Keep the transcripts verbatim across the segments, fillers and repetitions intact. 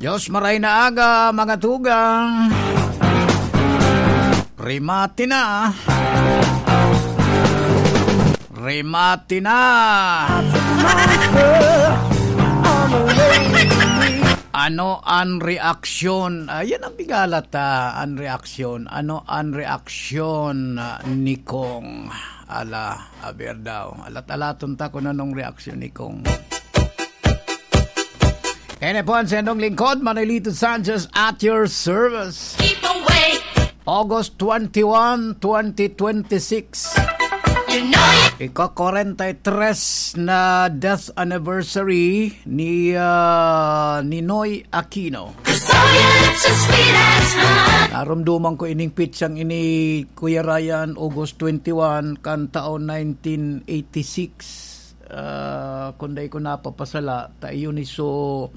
Diyos, maray na aga, mga tugang. Rimati na. Rimati na. Ano an reaksyon? Ayan ang pigalat, ah, an reaksyon. Ano an reaksyon, ah, ni Kong? Ala, aber daw. Alat-alaton ta kung anong reaksyon ni Kong. Ini po ang sendong lingkod, Manolito Sanchez, at your service. Keep away. August twenty-one, twenty twenty-six. You know you Ika-kwarenta y tres na death anniversary ni, ah, Ninoy Aquino. Saw you look so sweet as honey. Narumduman ko ining pitsang ini, Kuya Ryan, August twenty-one, kan taon nineteen eighty-six. Ah, kung dai ko napapasala, ta iyon iso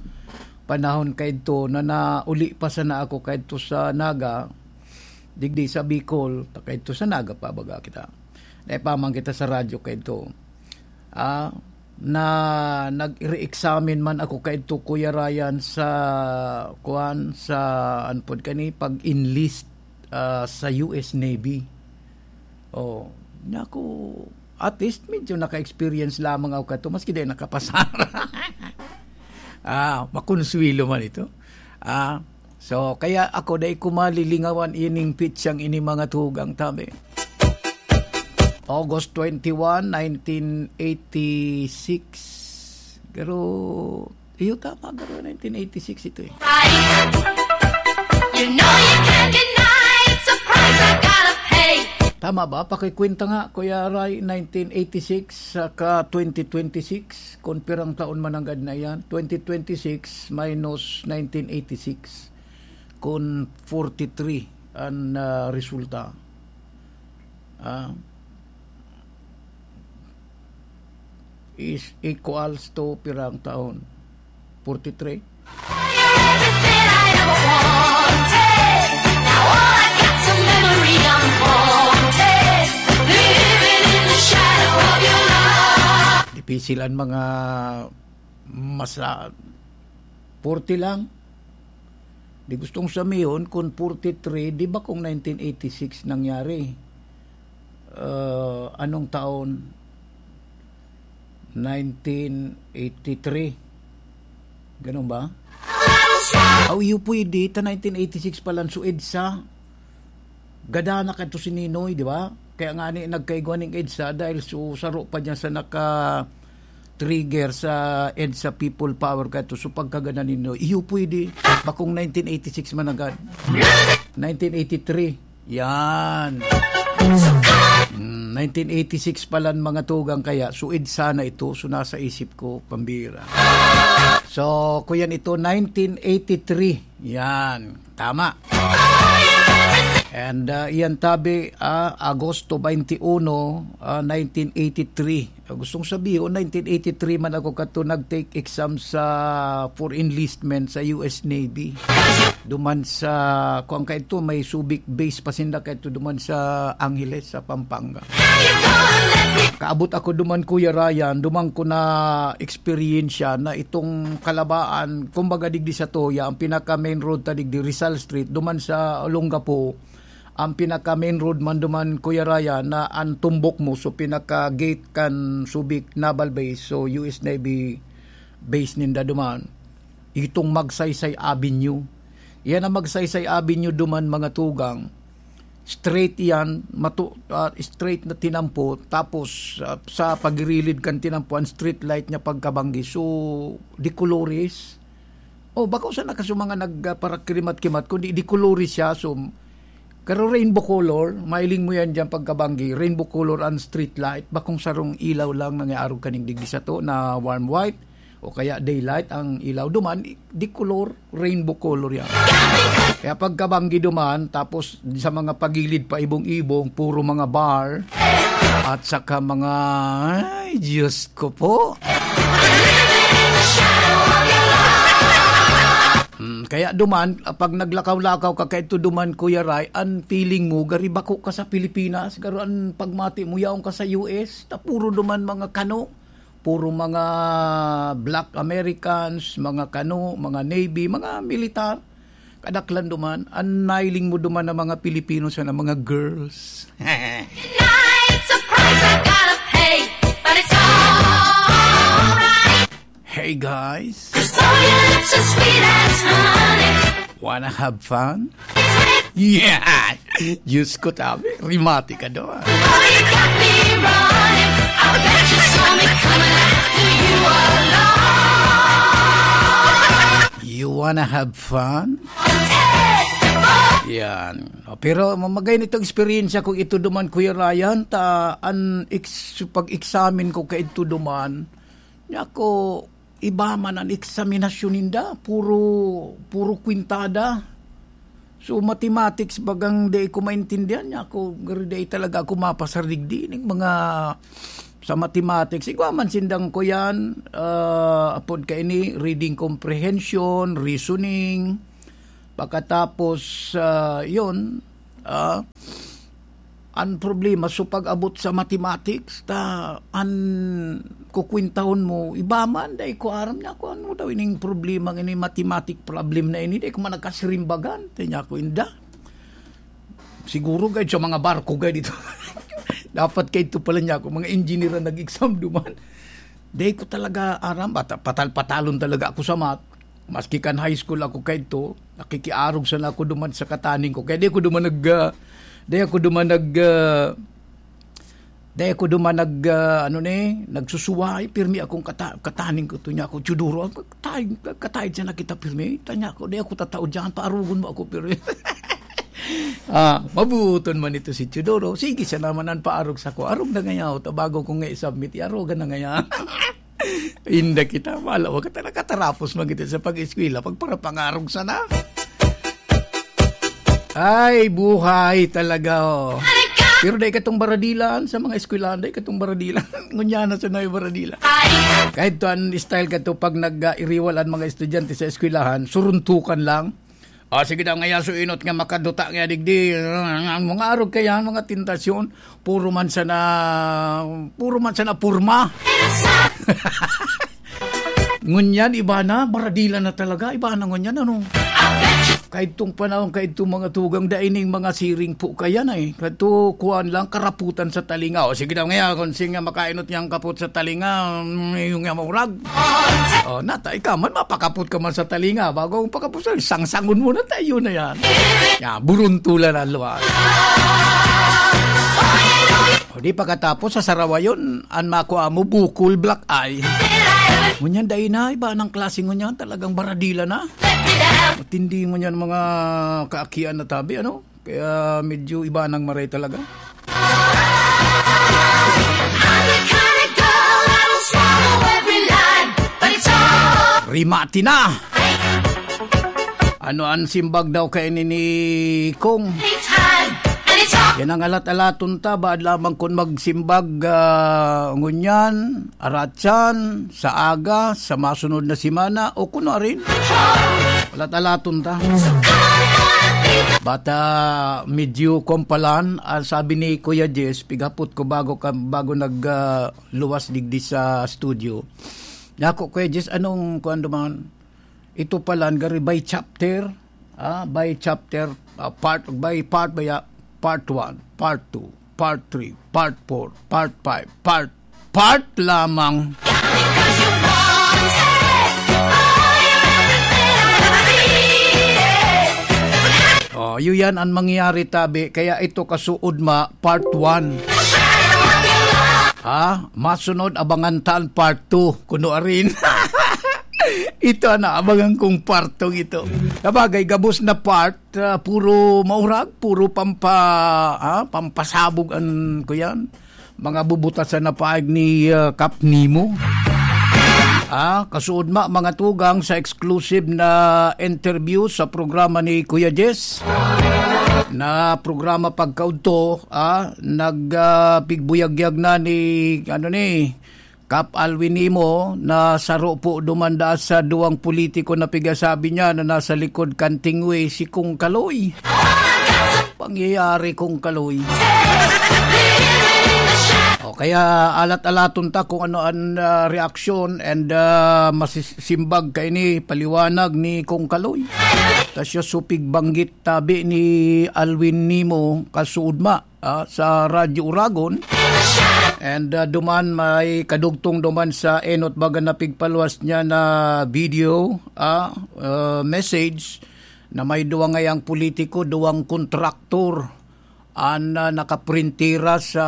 panahon kaidto na nauli pa sana ako kaidto sa Naga, digdi sa Bicol, ta kaidto sa Naga pa baga kita. Naipaman kita sa radyo kaidto. Ah, na nag-re-examine man ako kaidto, Kuya Ryan, sa, kuwan, sa, ano pod kani, pag-enlist, ah, sa U S Navy. Oh, naku, at least medyo naka-experience lamang ako kato, maski di nakapasar. Ah, makonsuelo man ito. Ah, so, kaya ako, dai ko malilingawan ining pitsang ini, mga tugang, tabi. August twenty-one, nineteen eighty-six. Pero, iyo, tama, pero nineteen eighty-six ito eh. You know you can't deny it. Surprise, I gotta pay. Tama ba? Pakikwenta nga, Kuya Ray, nineteen eighty-six saka twenty twenty-six, kung pirang taon man nanggad na yan? Twenty twenty-six minus nineteen eighty-six, kung forty-three an, ah, resulta. Ah, is equals to pirang taon? Forty-three? You're everything I ever wanted. Now all I got's a memory I'm haunted. Living in the shadow of your love. Dipisil an mga masa-, forty lang. Di gustong samihon, kun forty-three, di ba kung nineteen eighty-six nangyari? Ah, anong taon? Nineteen eighty-three. Ganun ba? Aw, iyo pwede, ta nineteen eighty-six pa lang, so EDSA. Gada na kadto si Ninoy, di ba? Kaya nga ni, nagkaigwa ning EDSA dahil so, saro pa niya sa naka-trigger sa EDSA People Power kadto. So, pagkagada ni Ninoy, iyo pwede. Bakong nineteen eighty-six man agad. Nineteen eighty-three. Yan. Mm, nineteen eighty-six pa lang, mga tugang, kaya suid sana ito. So, nasa isip ko, pambira. So, kuyan ito, nineteen eighty-three. Yan. Tama. And, ah, iyan tabi, ah, Agosto twenty-one, ah, nineteen eighty-three. Ah, gustong sabihin, nineteen eighty-three man ako kato nag-take exam sa, for enlistment sa U S Navy. Duman sa, kuwan kaito, may Subic base pa sinda kaito duman sa Angeles, sa Pampanga. Kaabot ako duman, Kuya Ryan, duman ko na eksperyensya na itong Kalabaan, kumbaga digdi sa Toya, ang pinaka main road ta digdi, Rizal Street, duman sa Olongapo, ang pinaka main road man duman, Kuya Ryan, na ang tumbok mo, so pinaka gate kan Subic Naval Base, so U S Navy base ninda duman. Itong Magsaysay Avenue. Yan ang Magsaysay Avenue duman, mga tugang. Straight yan, matu-, ah, straight na tinampo, tapos, ah, sa pagirilid kan tinampo, ang street light niya pagkabanggi. So, de colores. Oh, bako sana kaso mga nagparakirimat-kimat, kundi de colores siya. So, karo rainbow color, mailing mo yan dyan pagkabanggi. Rainbow color ang street light. Bakong sarong ilaw lang nangyarog kaning digdi sa to na warm white. O kaya daylight ang ilaw duman, di color, rainbow color yan. Kaya pagkabanggi duman, tapos sa mga pagilid pa ibong-ibong, puro mga bar, at saka mga, ay, Diyos ko po. Hmm, kaya duman, pag naglakaw-lakaw ka kaito duman, Kuya Ray, ang feeling mo, gari bako ka sa Pilipinas, garo ang pagmati mo, yaon ka sa U S, ta puro duman mga kano, Puro mga black Americans, mga Kano, mga Navy, mga militar. Kadaklan duman, an nailing mo duman na mga Pilipino sana, mga girls. Tonight, surprise, I gotta pay, but it's alright. Hey, guys. 'Cause all your lips are sweet as honey. Wanna have fun? Yeah! Diyos ko, tabi. Rimati ka doon. Oh, you got me running. I bet you saw me coming after you alone. You wanna have fun? Yan. O, pero mamagay nitong eksperyensya kong ito duman, Kuya Ryan, ta an ex-, pag-examine ko kay ito duman, niya ko, iba man an eksaminasyon ninda, puro, puro kwintada. So, mathematics, bagang di ko maintindihan niya ako, garo di talaga ako mapasar digdi ning mga sa mathematics. Igwa man sindang ko yan, ah, apod kaini, reading comprehension, reasoning. Pagkatapos, ah, yun, ah, an problema, so pag-abot sa mathematics, ta, an kukwintahon mo, iba man, dai ko aram niya kung ano daw ining problema, ini mathematic problem na ini, dai ko man nagkasirimbagan, ta niya ko inda. Siguro, gayod sa mga barko, gayod dito. Dapat kay ito pala niya ako, mga engineer ang nag-exam duman. Dai ko talaga aram, bata, patal-patalon talaga ako sa math. Maski kan high school ako kaidto, nakikiarog sana ako duman sa kataning ko. Kaya di ako duman nag, ah, di ako duman nag, ah, di ako duman nag, ah, ano ni, nagsusuway, pirmi akong kata-, kataning ko. Ito niya ako, "Teodoro, ang katay-, katayad sana kita pirmi." Tanya ko, "Di ako tatao dyan, paarugon mo ako pirmi." Ah, mabuton man ito si Teodoro. Sige, siya naman ang paarog sa ko. Arog na ngaya, o, ta bago ko nga i-submit, iarogan na ngaya. Inda kita, wala, wag ka talaga tarapos magiti sa pag-eskwela, pag para pangarog sana. Ay, buhay talaga, oh. Pero dai katong baradilan sa mga eskwelahan, dai katong baradilan. Ngunyan na sa nayo baradilan. Kahit to ang style ka to, pag nag-iriwal ang mga estudyante sa eskwelahan, suruntukan lang. Ah, sige daw, ngaya so inot nga makaduta nga digdi. Ang mga arog kaya, mga tentasyon, puro man sana, puro man sana purma. Ngunyan, iba na, baradila na talaga, iba na ngunyan, ano? Kaidtong panahon, kaidtong mga tugang, dai ning mga siring po kaya na eh. Kadto, kuwan lang, karaputan sa talinga. O, sige daw ngaya, kung singa makainot niyang kapot sa talinga, mm, yung nga maurag. O, nata, ikaw man, mapakapot ka man sa talinga. Bago ang pakapot sa, sangsangon mo na tayo na yan. Ya, buruntulan ang luwas. O, di pagkatapos, sa sarawayon, an makua mo, bukol, black eye. Ngunyan, dai na, iba ng klase ngunyan, talagang baradila na. Matindi ngunyan mga kaakian na tabi, ano? Kaya medyo iba nang maray talaga. Rimati na! Ano ang simbag daw kaini ni Kong? Yan ang alat-alaton ta, baad lamang kun magsimbag, ah, ngunyan, aratsan, sa aga, sa masunod na semana, o kuno arin. Alat-alaton ta. Bata, medyo kompalan, ah, sabi ni Kuya Jess, pigapot ko bago ka, bago nag, ah, luwas digdi sa studio. Nako, Kuya Jess, anong kuwan duman? Ito pala, gari by chapter, ah, by chapter, ah, part, by part, by, ah, part one, part two, part three, part four, part five, part, part lamang. Oh, yun yan ang mangyayari, tabi. Kaya ito kasuod ma, part one. Ha? Masunod, abangan ta an part two. Kuno arin. Ito na, abangan kong part two ito. Sabagay, gabos na part, ah, puro maurag, puro pampa-, ah, pampasabog an, kuyan, mga bubutasan na paag ni, ah, Kap Nemo. Ah, kasuod ma, mga tugang, sa exclusive na interview sa programa ni Kuya Jess, na programa pagkaudto, ah, nag, ah, pigbuyagyag na ni, ano ni, Kap Alwin Nemo, na saro po dumanda sa duwang politiko na pigasabi niya na nasa likod kan tingwi, si Kong Kaloy. Pangyayari, Kong Kaloy. O, Kaya alat-alaton ta kung ano an, ah, reaksyon and, ah, masisimbag kaini paliwanag ni Kong Kaloy. Ta siya supig banggit tabi ni Alwin Nimo Kasuudma, ah, sa Radyo Uragon. And, ah, duman may kadugtong duman sa enot baga na pigpaluwas niya na video, ah, ah, message na may duwa ngayang politiko, duwang kontraktor an, ah, nakaprintira sa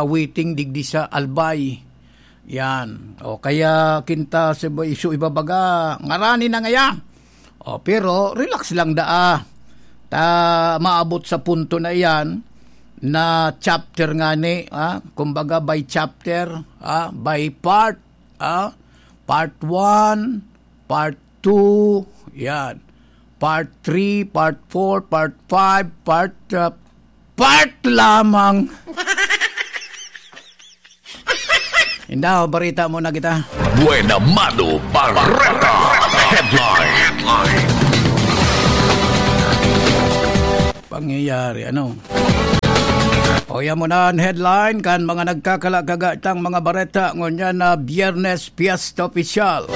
waiting digdi sa Albay. Yan. O kaya kinta sa iba, isu ibabaga, ngarani na ngaya. O, pero relax lang daa. Ta maabot sa punto na iyan na chapter ngani, ah, kumbaga by chapter, ah, by part, ah, part one, part two, yan. Part three, part four, part five, part, ah, part lamang. Indaw, barita muna kita. Buena Mano Bareta Headline. Pangyayari, ano? O, yan muna an headline kan mga nagkakala-kagatang mga bareta ngunyan na Biyernes, Piyesta Opisyal.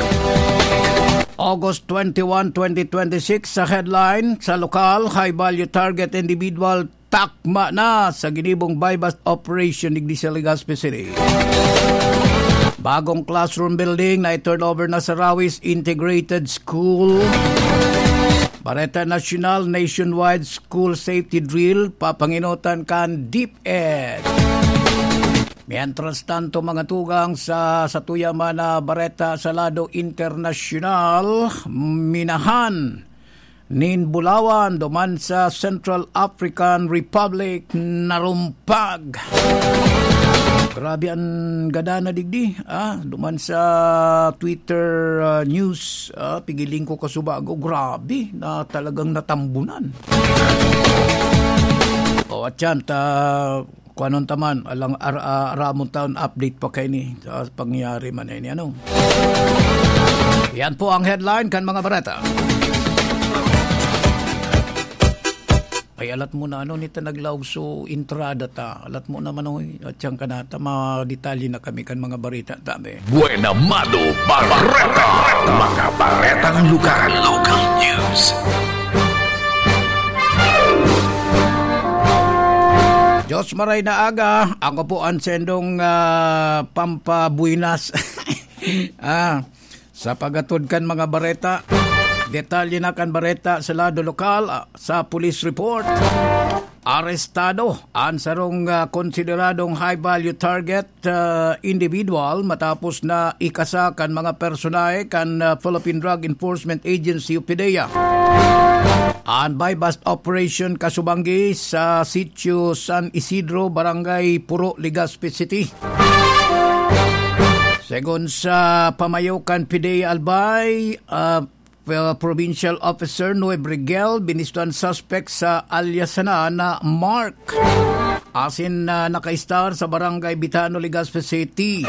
August twenty-one, twenty twenty-six, sa headline, sa lokal, high value target individual takma na sa ginibong buy-bust operation digdi sa Legazpi City. Bagong classroom building na i-turnover na sa Rawis Integrated School. Bareta Nasyonal, nationwide school safety drill, papangenotan kan DepEd. Mientras tanto, mga tugang, sa, sa tuya man na bareta sa lado internasyonal, minahan nin bulawan duman sa Central African Republic narumpag. Grabe an gada na digdi, ah, duman sa Twitter, ah, news, ah, pigiling ko kasubago, grabe na talagang natambunan. O, at yan, ta, kuanon ta man, alang ar-, ah, aramon taon update pa kaini sa pangyayari man ini, ano. Yan po ang headline kan mga bareta. Ay, alat mo na, ano, nita naglaog so entrada ta. Alat mo naman, oy, at siyang kanata, madetalye na kami kan mga bareta, tabi. Buena Mano Bareta. Mga baretang lokal. Local news. Diyos maray na aga, ako po ang sendong, ah, pampabuinas. Ah, sa pagatod kan mga bareta, detalye na kan bareta sa lado lokal, ah, sa police report. Arestado an sarong, ah, konsideradong high value target, ah, individual matapos na ikasa kan mga personahe kan, ah, Philippine Drug Enforcement Agency o PDEA. An buy-bust operation kasubanggi sa Sitio San Isidro, Barangay Puro, Legazpi City. Segun sa pamayo kan PDEA Albay, ah, P-, Provincial Officer Noe Brigel, binisto an suspect sa alias sana na Mark, asin na nakaistar sa Barangay Bitano, Legazpi City.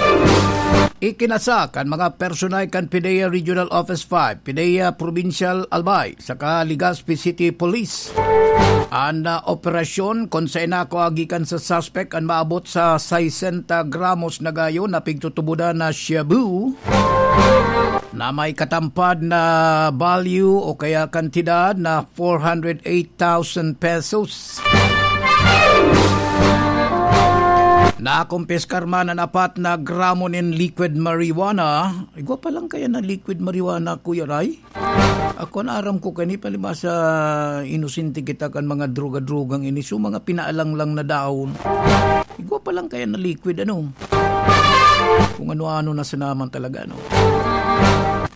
Ikinasa kan mga personahe kan PDEA Regional Office five, PDEA Provincial Albay, saka Legazpi City Police an, ah, operasyon, kun saen nakua gikan sa suspek an maabot sa sesenta gramos na gayo na pigtutubodan na shabu na may katampad na value o kaya kantidad na four hundred eight thousand pesos. Nakumpiskar man an apat na gramo nin liquid marijuana. Igwa pa lang kaya na liquid marijuana, Kuya Ray? Ako, an aram ko kani, palibasa inosente kita kan mga droga-drogang ini. So, mga pinaalanglang na dahon. Igwa pa lang kaya na liquid, ano? Kung ano-ano na sinaman talaga, ano?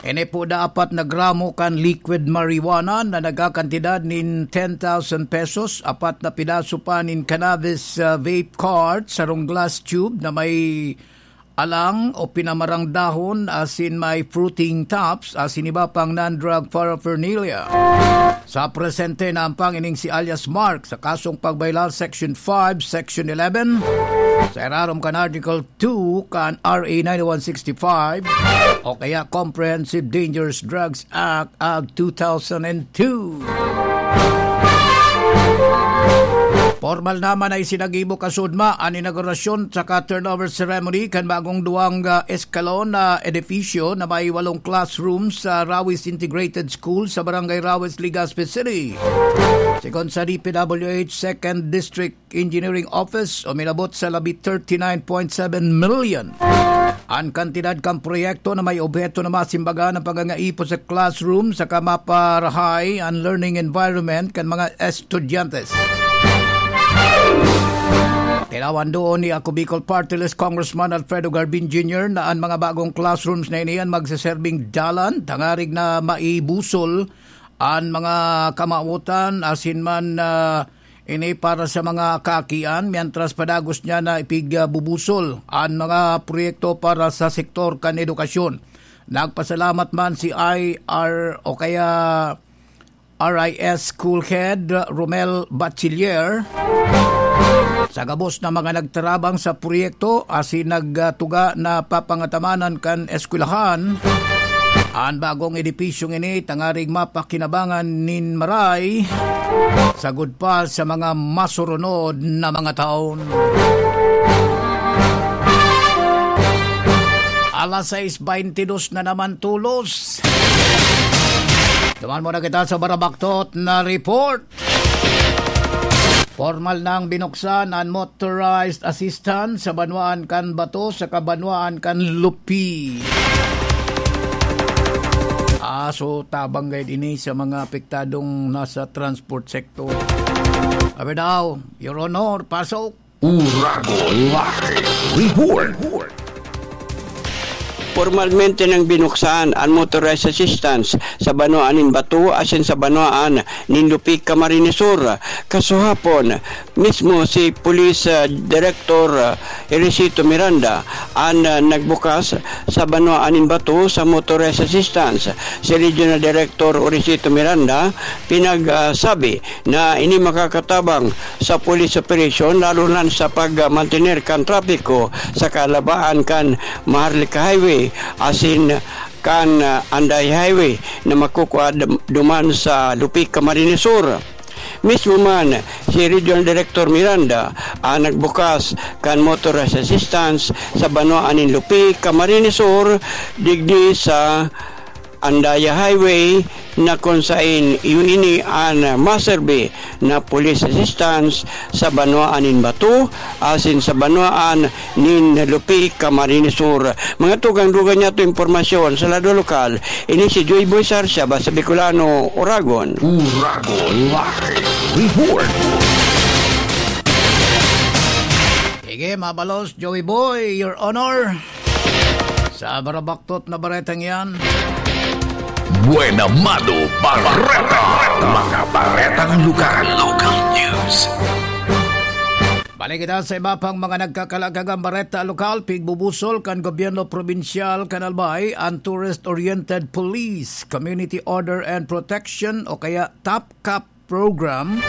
Ini po da apat na gramo kan liquid marijuana na nagkakantidad nin ten thousand pesos, apat na pidaso pa nin cannabis, ah, vape cart, sarong glass tube na may alang o pinamarang dahon asin may fruiting tops asin iba pang non-drug paraphernalia. Sa presente, naampang ining si alias Mark sa kasong pagbaylar Section five, Section eleven, sa irarom kan Article two kan R A nine one six five o kaya Comprehensive Dangerous Drugs Act of two thousand two. Pormal naman na isinagibo kasudma an inaugurasyon saka turnover ceremony kan bagong duwang, ah, eskalon na edipisyo na may walong classrooms sa Rawis Integrated School sa Barangay Rawis, Legazpi City. Sigon sa D P W H Second District Engineering Office, uminabot sa labi thirty-nine point seven million an kantidad kan proyekto na may obheto na masimbagan ang pagangaipo sa classroom saka maparahay an learning environment kan mga estudyante. Tinawan doon ni Ako Bicol Party List Congressman Alfredo Garbin Junior na an mga bagong classrooms na ini an magseserbing dalan tangarig na maibusol an mga kamawotan asin man, ah, ini para sa mga kakian, mientras padagos niya na ipigbubusol an mga proyekto para sa sektor kan edukasyon. Nagpasalamat man si I R o kaya R I S School Head Romel Bachiller sa gabos na mga nagtarabang sa proyekto asin nagtuga na papangatamanan kan eskwelahan an bagong edipisyong ini tangarig mapakinabangan nin maray sagud pa sa mga masurunod na mga taon. Alas sais beintidos na naman tolos. Duman muna kita sa barabaktot na report. Pormal nang binuksan an motorized assistance sa banwaan kan Bato saka banwaan kan Lupi. Ah, so tabang gayud ini sa mga apektadong nasa transport sector. Abi daw, Your Honor, pasok. Uragon Live Report. Pormalmente nang binuksan an motorized assistance sa banwaan nin Bato asin sa banwaan nin Lupi, Camarines Sur. Kasuhapon, mismo si Police, ah, Director, ah, Erecito Miranda an, ah, nagbukas sa banwaan nin Bato sa motorized assistance. Si Regional Director Erecito Miranda pinagsabi na ini makakatabang sa police operation, lalo na sa pagmantener kan trapiko sa kalabaan kan Maharlika Highway asin kan, ah, Anday Highway na makukua dum-, duman sa Lupi, Camarines Sur. Mismo man si Regional Director Miranda ang nagbukas kan motorized assistance sa banwaan nin Lupi, Camarines Sur, digdi sa Andaya Highway, na kun saen iyo ini an maserbi na police assistance sa banwaan nin Bato asin sa banwaan nin Lupi, Camarines Sur. Mga tugang-dugang niyato impormasyon sa lado lokal, ini si Joy Boy Sarsia, Basta Bicolano, Uragon. Uragon Live Report. Sige, mabalos, Joey Boy, Your Honor. Sa barabaktot na baretang yan. Buena Mano Bareta. Mga baretang lugar. Local news. Balik kita sa iba pang mga nagkakalagagang bareta lokal. Pigbubusol kan gobyerno probinsyal kan Albay an Tourist-Oriented Police, Community Order and Protection o kaya TOPCOP program.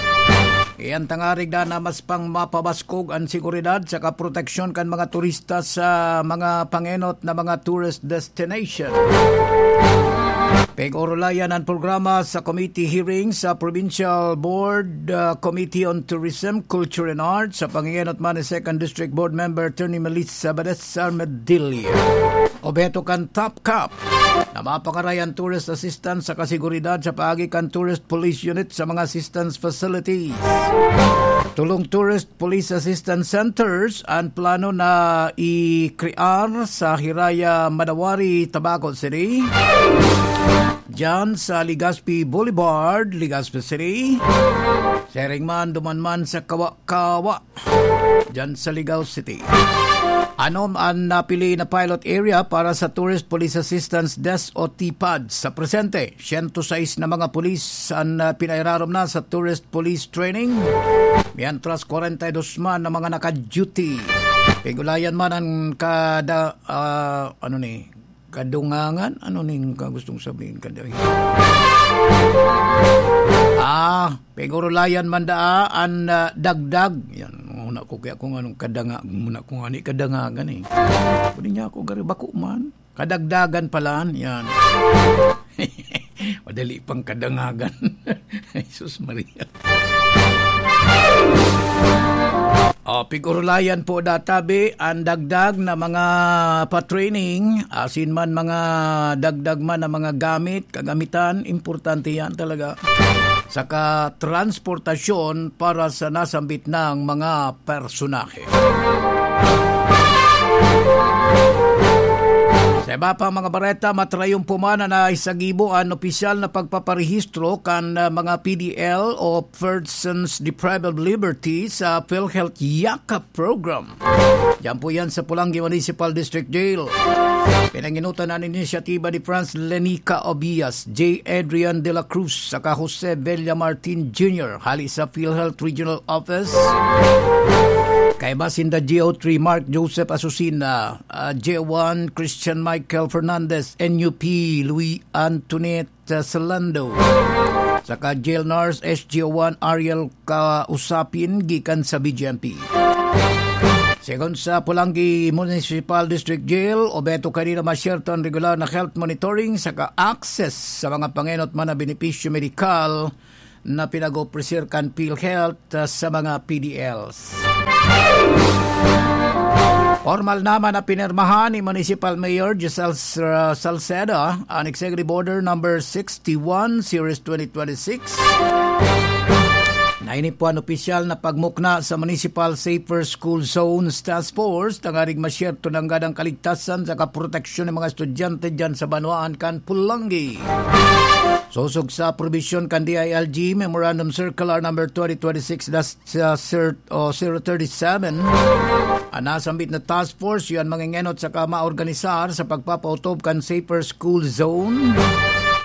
Iyan tangarig na mas pang mapabaskog an seguridad saka proteksyon kan mga turista sa mga pangenot na mga tourist destination. Pig-orulayan an programa sa committee hearing sa Provincial Board, uh, Committee on Tourism, Culture and Arts sa pangenot man ni Second District Board Member Attorney Melissa Badesar Medilla. Obheto kan TOPCOP na mapangaray an tourist assistance sa kasiguridad sa paagi kan tourist police unit sa mga assistance facilities. Tolong tourist police assistance centers an plano na i-crear sa Hiraya, Madawari, Tabaco City, diyan sa Legazpi Boulevard, Legazpi City. Siring man, duman man sa Kawa-Kawa, diyan sa Legazpi City. Anom an napili na pilot area para sa Tourist Police Assistance Desk o TPAD. Sa presente, siyento sais na mga pulis an, ah, pinairarom na sa Tourist Police Training, mientras kwarenta y dos man na mga naka-duty. Pigulayan man an kada, ah, ano ni, kadungangan? Ano ning ka gustong sabihin, kada-, ah, pigurulayan man daa an, ah, dagdag. Yan, muna ko kaya kung anong kadanga-, muna kung ani kadangagan eh. Pwede niya ako gari, bako man. Kadagdagan pala, yan. Madali pang kadangagan. Jesus Maria. O, pig-orolayan po databi an dagdag na mga pa-training, asin man mga dagdag man na mga gamit, kagamitan, importante yan talaga. Saka transportasyon para sa nasambit ng mga personahe. Sa iba pang mga bareta, matrayon po man na naisagibo an opisyal na pagpaparehistro kan, ah, mga P D L o Persons Deprived of Liberty sa PhilHealth Yakap Program. Diyan po yan sa Polangui Municipal District Jail. Pinanginutan an inisyatiba ni Franz Lenica Obias, J. Adrian de la Cruz, saka Jose Villa Martin Junior, hali sa PhilHealth Regional Office. Kaiba sinda G O three Mark Joseph Asusina, ah, J one Christian Michael Fernandez, N U P Louis Antoinette, ah, Salando, saka Jail Nurse S G O one Ariel Kausapin gikan sa B G M P. Segun sa Polangui Municipal District Jail, obheto kanina masyerto an regular na health monitoring saka access sa mga pangenot man na benepisyo medikal na pinag-opreser kan PhilHealth, ah, sa mga P D Ls. Formal naman na pinirmahan ni Municipal Mayor Giselle Sal-, Salceda an Executive Order Number sixty-one, Series twenty twenty-six, na ini po an opisyal na pagmukna sa Municipal Safer School Zones Task Force, tanganing masyerto nanggad an kaligtasan saka proteksyon ng mga estudyante dyan sa banwaan kan Polangui. Sosog sa probisyon kan D I L G Memorandum Circular Number twenty twenty-six dash, uh, cert-, o zero thirty-seven, an nasambit na task force yan mangengenot saka maorganisar sa pagpapautob kan safer school zone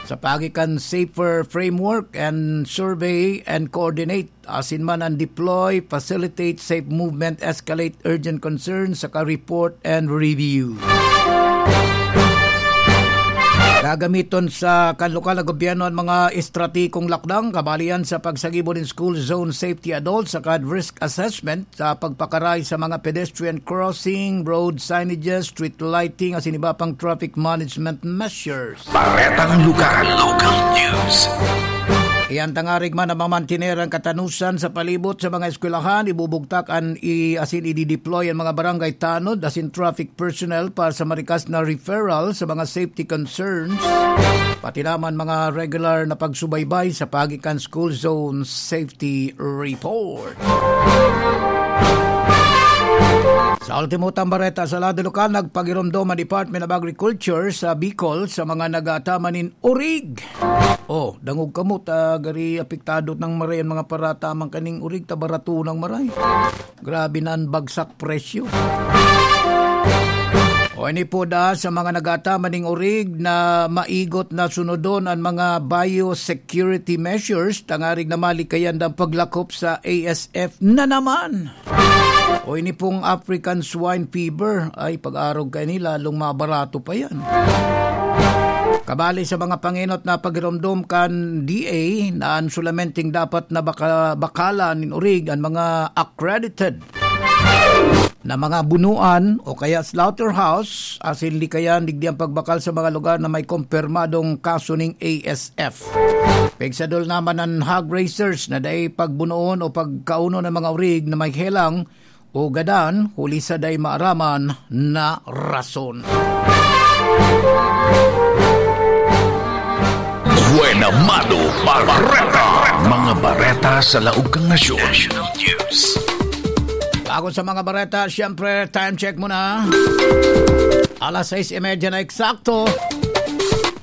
sa paagi kan safer framework and survey and coordinate asin man an deploy, facilitate safe movement, escalate urgent concerns, saka report and review. Gagamiton sa kan lokal na gobyerno an mga estrategikong lakdang kabalian sa pagsagibo nin school zone safety adults saka risk assessment sa pagpakaray sa mga pedestrian crossing, road signages, street lighting, asin iba pang traffic management measures. Baretang lugar, local news. Iyan tangarig man na mamantener an katanosan sa palibot sa mga eskwelahan, ibubugtak an i-, asin idideploy an mga barangay tanod asin traffic personnel para sa marikas na referral sa mga safety concerns, pati naman mga regular na pagsubaybay sa paagi kan school zone safety report. Sa ultimo tang bareta sa lado lokal, nagpagiromdom ang Department of Agriculture sa Bicol sa mga nag-aataman nin orig. Oh, dangog kamo, ta gari apektado nang maray an mga parataman kaning orig, ta barato nang maray. Grabe na an bagsak presyo. O, ini po da sa mga nag-aataman ning orig na maigot na sunodon an mga biosecurity measures, tangarig na malikayan ang paglakop sa A S F na naman. O, ini pong African Swine Fever, ay, pag-arog kaini, lalong mabarato pa yan. Kabali sa mga pangenot na pagiromdom kan D A na an sulamenteng dapat na baka-, bakalan nin orig an mga accredited na mga bunuan o kaya slaughterhouse, asin likayan digdi ang pagbakal sa mga lugar na may kumpirmadong kaso ning A S F. Pigsadol naman an hog raisers na dai pagbunoon o pagkaunon ang mga orig na may helang o gadan, huli sa dai maaraman na rason. Buena Mano Bareta. Mga bareta sa laog kan nasyon. National News. Bago sa mga bareta, siyempre, time check muna. Alas sais y media na eksakto.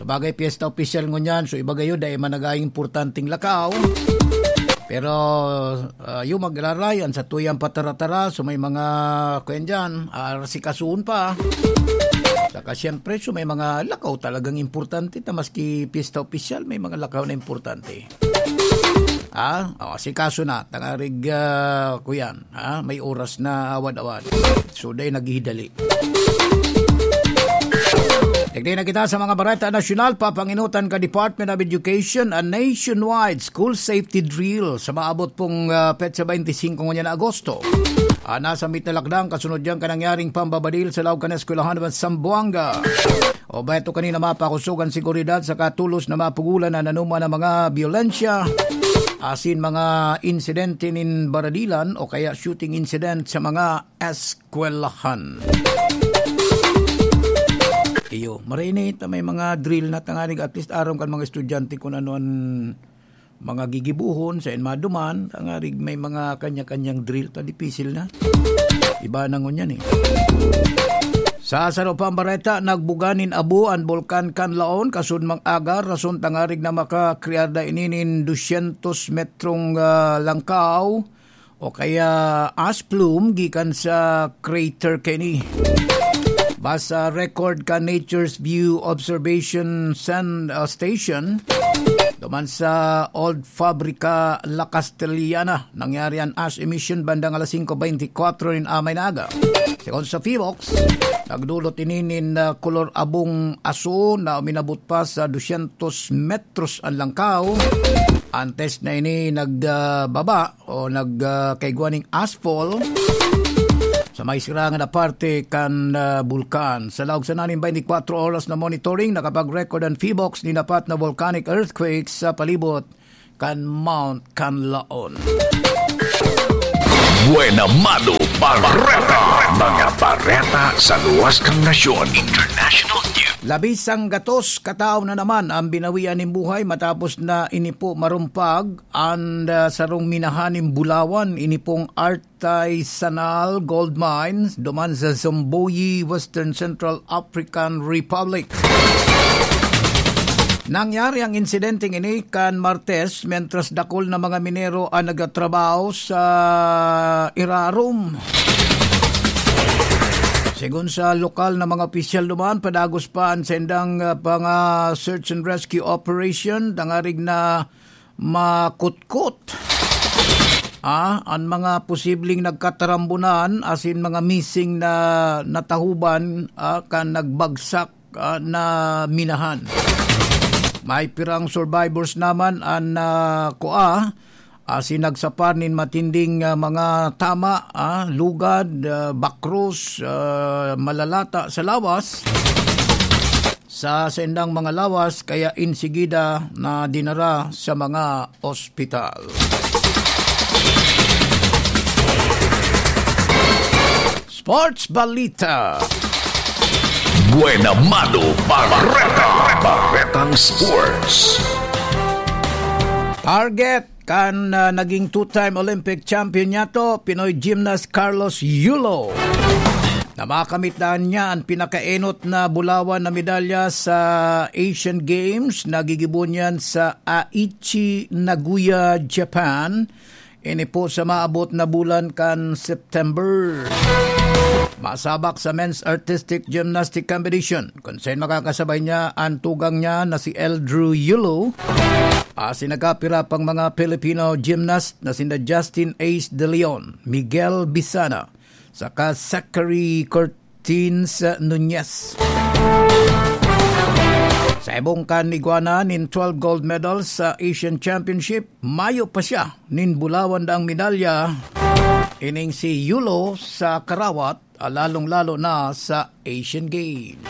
Sabagay, piyesta opisyal ngunyan. So, iba gayo, dai man nag-aimportanteng lakaw. Pero, ah, yung magraray, an satuyang patara-tara, so may mga, kuyan dyan, asikasuhon pa. Saka siyempre, so may mga lakaw talagang importante na maski piyesta opisyal, may mga lakaw na importante. Ah, oh, asikaso na, tangarig, ah, kuyan, ah, may oras na awad-awad. So, dai naghihidali. Tignan na kita sa mga bareta nasyonal, papanginutan ka Department of Education, a nationwide school safety drill sa maabot pong, ah, petsa twenty-five ngunyan na Agosto. Ah, nasa mit na lakdang kasunod diyan ka nangyaring pambabadil sa laog kan eskwelahan sa Zamboanga. O ba ito kanina mapakusog an seguridad sa katulos na mapugulan na nanuman ang mga biyolensya asin mga insidente nin baradilan o kaya shooting incident sa mga eskwelahan. Iyo, maray na ito, may mga drill na tanganing at least aram kan mga estudyante kung ano an mga gigibohon, saen maduman, tanganing may mga kanya-kanyang drill ta, dipisil na. Iba na ngunyan eh. Sa saro pang bareta, nagbuga nin abo an Bulkan Kanlaon, kasudmang aga, rason tanganing na makakrear na ini nin dusyentos metrong, ah, langkaw o kaya ash plume gikan sa crater kini. Basa record kan Nature's View Observation Sand, ah, Station, duman sa Old Fabrica, La Castellana, nangyari an ash emission bandang alas singko beintikwatro nin amay na aga. Segun sa Phivolcs, nagdulot ini nin, ah, kolor abong aso na uminabot pa sa dusyentos metros an langkaw. Antes na ini nagbaba o nag, ah, kaigwa ning ashfall sa may sirangan na parte kan, ah, bulkan. Sa laog sana nin beintikwatro oras na monitoring, nakapag-record an Phivolcs nin apat na volcanic earthquakes sa palibot kan Mount Kanlaon. Buena Mano Bareta. Mga bareta sa luwas kan nasyon. International News. Labis ang gatos katao na naman ang binawian nin buhay matapos na ini po marumpag an, ah, sarong minahan nin bulawan, ini pong artisanal gold mine duman sa Zomboyi, Western Central African Republic. Nangyari ang insidenteng ini kan Martes, mentras dakul na mga minero ang nagtatrabaho sa irarom. Segun sa lokal na mga opisyal duman, padagos pa an saindang, ah, panga search and rescue operation, tanganing na makutkot, ah, an mga posibleng nagkatarambunan asin mga missing na natahoban, ah, kan nagbagsak, ah, na minahan. May pirang survivors naman an, ah, kua, asin nagsapar nin matinding, ah, mga tama, ah, lugad, ah, bakros, ah, malalata sa lawas. Sa saindang mga lawas, kaya insigida na dinara sa mga ospital. Sports Balita. Buena Mano Bareta. Baretang Sports. Target kan, ah, naging two-time Olympic champion niyato, Pinoy gymnast Carlos Yulo, na makamit na niya an pinakaenot na bulawan na medalya sa Asian Games na gigibo niyan sa Aichi, Nagoya, Japan. Ini po sa maabot na bulan kan September. Masabak sa men's artistic gymnastic competition, kun saen makakasabay niya an tugang niya na si Eldrew Yulo, asin nagkapira pang mga Filipino gymnast na sinda Justin Ace De Leon, Miguel Bisana, saka Zachary Cortins Nunez. Sa ibong kan igwa na nin twelve gold medals sa Asian Championship, mayo pa siya nin bulawan daang medalya, ining si Yulo sa karawat, lalong-lalo na sa Asian Games.